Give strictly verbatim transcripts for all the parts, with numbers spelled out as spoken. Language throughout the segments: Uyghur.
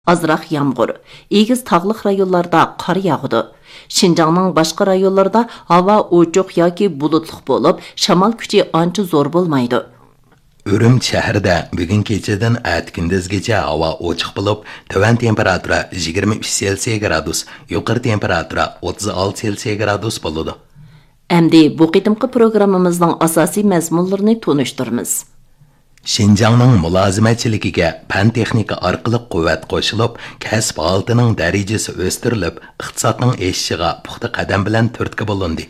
ئازراق يامغۇر، ئېگىز تاغلىق رايونلاردا قار ياغىدۇ. شىنجاڭنىڭ باشقا رايونلىرىدا ھاۋا ئوچۇق ياكى بۇلۇتلۇق بولۇپ، شامال كۈچى ئانچە زور بولمايدۇ. ئۈرۈمچى شەھىرىدە بۈگۈن كېچىدىن ئەتە كۈندۈزگىچە ھاۋا ئوچۇق بولۇپ، تۆۋەن تېمپېراتۇرا يىگىرمە ئۈچ سېلسىيە گرادۇس، يۇقىرى تېمپېراتۇرا ئوتتۇز ئالتە سېلسىيە گرادۇس بولىدۇ. ئەمدى بۇ قېتىمقى پروگراممىمىزنىڭ ئاساسىي مەزمۇنلىرىنى تونۇشتۇرىمىز. شىنجاڭنىڭ مۇلازىمەتچىلىكىگە پەن-تېخنىكا ئارقىلىق قۇۋۋەت قوشۇلۇپ، كەسىپ ھالىتىنىڭ دەرىجىسى ئۆستۈرۈلۈپ، ئىقتىسادنىڭ ئېشىشىغا پۇختا قەدەم بىلەن تۈرتكە بولۇندى.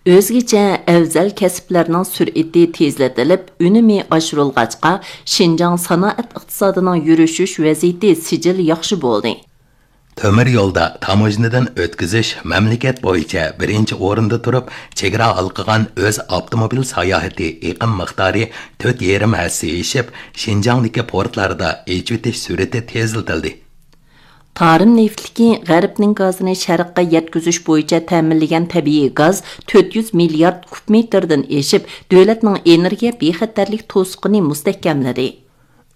ئۆزگىچە ئەۋزەل كەسىپلەرنىڭ سۈرئىتى تېزلىتىلىپ، ئۈنۈمى ئاشۇرۇلغاچقا، شىنجاڭ سانائەت ئىقتىسادىنىڭ يۈرۈشۈش ۋەزىيىتى سىجىل ياخشى بولدى. تۆمۈر يولدا تاموژنىدىن ئۆتكۈزۈش مەملىكەت بويىچە بىرىنچى ئورۇندا تۇرۇپ، چېگرا ھالقىغان ئۆز ئاپتوموبىل ساياھىتى ئېقىم مىقدارى تۆت يېرىم ھەسسە ئېشىپ، شىنجاڭدىكى پورتلاردا ئېچىۋېتىش سۈرئىتى تېزلىتىلدى. تارىم نېفىتلىكى غەربنىڭ گازىنى شەرققە يەتكۈزۈش بويىچە تەمىنلىگەن تەبىئىي گاز تۆت يۈز مىليارد كۇب مېتىردىن ئېشىپ، دۆلەتنىڭ ئېنېرگىيە بىخەتەرلىك توسۇقىنى مۇستەھكەملىدى.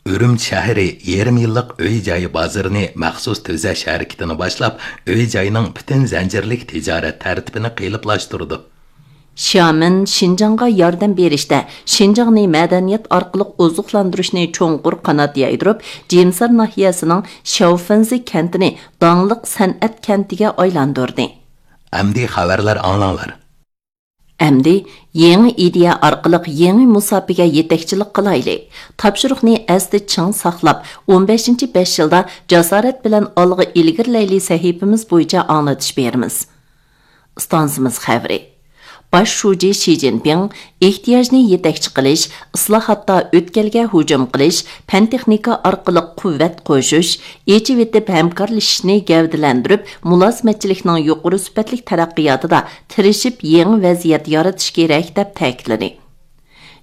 ئۈرۈمچى شەھىرى يېرىم يىللىق ئۆي-جاي بازىرىنى مەخسۇس تۈزەش ھەرىكىتىنى باشلاپ، ئۆي-جاينىڭ پۈتۈن زەنجىرلىك تىجارەت تەرتىپىنى قېلىپلاشتۇردى. شيامېن شىنجاڭغا ياردەم بېرىشتە شىنجاڭنى مەدەنىيەت ئارقىلىق ئوزۇقلاندۇرۇشنى چوڭقۇر قانات يايدۇرۇپ، جىمسار ناھىيەسىنىڭ شياۋفېنزى كەنتىنى داڭلىق سەنئەت كەنتىگە ئايلاندۇردى. ئەمدى خەۋەرلەر ئاڭلاڭلار. ئەمدى يېڭى ئىدىيە ئارقىلىق يېڭى مۇساپىگە يېتەكچىلىك قىلايلى. تاپشۇرۇقنى ئەستە چىڭ ساقلاپ، ئون بەشىنچى بەش يىلدا جاسارەت بىلەن ئالغا ئىلگىرىلەيلى سەھىپىمىز بويىچە ئاڭلىتىش بېرىمىز. ئىستانسىمىز خەۋىرى. باش شۇجى شى جىنپىڭ ئېھتىياجنى يېتەكچى قىلىش، ئىسلاھاتتا ئۆتكەلگە ھۇجۇم قىلىش، پەن-تېخنىكا ئارقىلىق قۇۋۋەت قوشۇش، ئېچىۋېتىپ ھەمكارلىشىشنى گەۋدىلەندۈرۈپ، مۇلازىمەتچىلىكنىڭ يۇقىرى سۈپەتلىك تەرەققىياتىدا تىرىشىپ يېڭى ۋەزىيەت يارىتىش كېرەك، دەپ تەكىتلىدى.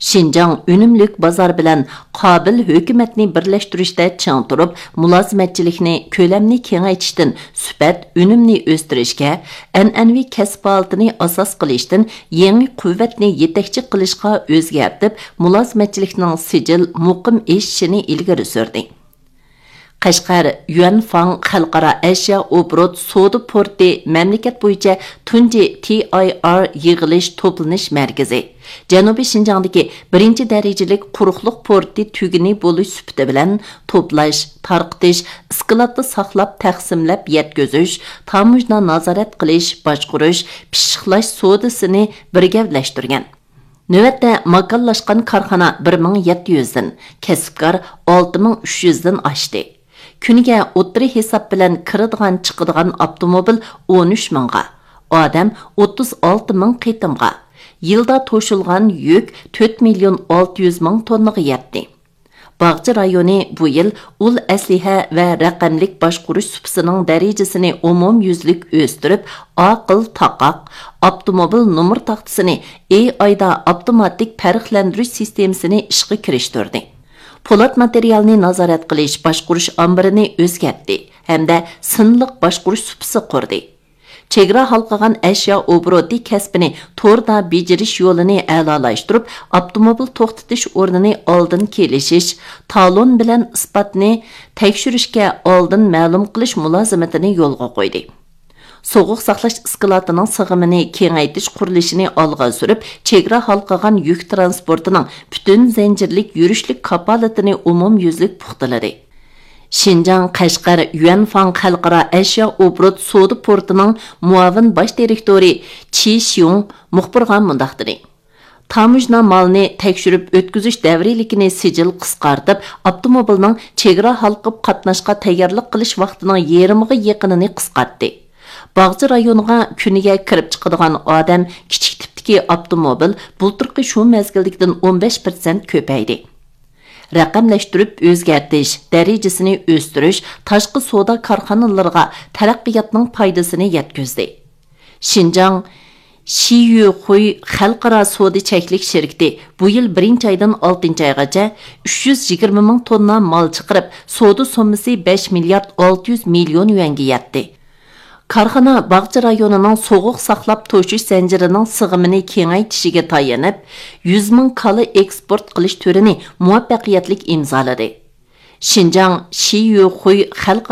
شىنجاڭ ئۈنۈملۈك بازار بىلەن قابىل ھۆكۈمەتنى بىرلەشتۈرۈشتە چىڭ تۇرۇپ، مۇلازىمەتچىلىكنى، كۆلەمنى كېڭەيتىشتىن سۈپەت، ئۈنۈمنى ئۆستۈرۈشكە، ئەنئەنىۋى كەسىپ ھالىتىنى ئاساس قىلىشتىن يېڭى قۇۋۋەتنى يېتەكچى قىلىشقا ئۆزگەرتىپ، مۇلازىمەتچىلىكنىڭ سىجىل، مۇقىم ئېشىشىنى ئىلگىرى سۈردى. قەشقەر يۈەنفاڭ خەلقئارا ئەشيا ئوبوروت سودا پورتى مەملىكەت بويىچە تۇنجى تى ئاي ئار يىغىلىش توپلىنىش مەركىزى، جەنۇبىي شىنجاڭدىكى بىرىنچى دەرىجىلىك قۇرۇقلۇق پورتى تۈگۈنى بولۇش سۈپىتى بىلەن توپلاش، تارقىتىش، ئىسكىلاتتا ساقلاپ تەقسىملەپ يەتكۈزۈش، تاموژنا نازارەت قىلىش، باشقۇرۇش، پىششىقلاش سودىسىنى بىر گەۋدىلەشتۈرگەن. نۆۋەتتە ماكانلاشقان كارخانا بىر مىڭ يەتتە يۈزدىن، كەسىپكار ئالتە مىڭ ئۈچ يۈزدىن ئاشتى. كۈنىگە ئوتتۇرا ھېساب بىلەن كىرىدىغان چىقىدىغان ئاپتوموبىل ئون ئۈچ مىڭغا، ئادەم ئوتتۇز ئالتە مىڭ قېتىمغا، يىلدا توشۇلغان يۈك تۆت مىليون ئالتە يۈز مىڭ توننىغا يەتتى. باغچە رايونى بۇ يىل ئۇل ئەسلىھە ۋە رەقەملىك باشقۇرۇش سۇپىسىنىڭ دەرىجىسىنى ئومۇميۈزلۈك ئۆستۈرۈپ، ئاقىل تاقاق، ئاپتوموبىل نومۇر تاختىسىنى ئېي ئايدا ئاپتوماتىك پەرقلەندۈرۈش سىستېمىسىنى ئىشقا كىرىشتۈردى. پولات ماتېرىيالنى نازارەت قىلىش باشقۇرۇش ئامبىرىنى ئۆزگەرتتى ھەمدە سىنلىق باشقۇرۇش سۇپىسى قۇردى. چېگرا ھالقىغان ئەشيا ئوبوروتى كەسپىنى توردا بېجىرىش يولىنى ئەلالاشتۇرۇپ، ئاپتوموبىل توختىتىش ئورنىنى ئالدىن كېلىشىش، تالون بىلەن ئىسپاتنى تەكشۈرۈشكە ئالدىن مەلۇم قىلىش مۇلازىمىتىنى يولغا قويدى. سوغۇق ساقلاش ئىسكىلاتىنىڭ سىغىمىنى كېڭەيتىش قۇرۇلۇشىنى ئالغا سۈرۈپ، چېگرا ھالقىغان يۈك تىرانسپورتىنىڭ پۈتۈن زەنجىرلىك يۈرۈشلۈك كاپالىتىنى ئومۇميۈزلۈك پۇختىلىدى. شىنجاڭ قەشقەر يۈەنفاڭ خەلقئارا ئەشيا ئوبوروت سودا پورتىنىڭ مۇئاۋىن باش دىرېكتورى چى شيۇڭ مۇخبىرغا مۇنداق دېدى: تاموژنا مالنى تەكشۈرۈپ ئۆتكۈزۈش دەۋرىيلىكىنى سىجىل قىسقارتىپ، ئاپتوموبىلنىڭ چېگرا ھالقىپ قاتناشقا تەييارلىق قىلىش ۋاقتىنىڭ يېرىمىغا يېقىنىنى قىسقارتتى. باغچە رايونىغا كۈنىگە كىرىپ چىقىدىغان ئادەم، كىچىك تىپتىكى ئاپتوموبىل بۇلتۇرقى شۇ مەزگىلدىكىدىن ئون بەش پىرسەنت كۆپەيدى. رەقەملەشتۈرۈپ ئۆزگەرتىش، دەرىجىسىنى ئۆستۈرۈش، تاشقى سودا كارخانىلىرىغا تەرەققىياتنىڭ پايدىسىنى يەتكۈزدى. شىنجاڭ شىيۈخۇي خەلقئارا سودا چەكلىك شىركىتى بۇ يىل بىرىنچى ئايدىن ئالتىنچى ئايغىچە ئۈچ يۈز يىگىرمە مىڭ توننا مال چىقىرىپ، سودا سوممىسى بەش مىليارد ئالتە يۈز مىليون يۈەنگە يەتتى. كارخانا باغچە رايونىنىڭ سوغۇق ساقلاپ توشۇش زەنجىرىنىڭ سىغىمىنى كېڭەيتىشىگە تايىنىپ، يۈز مىڭ كالا ئېكسپورت قىلىش تۈرىنى مۇۋەپپەقىيەتلىك ئىمزالىدى. شىنجاڭ شىيۈخۇي خەلق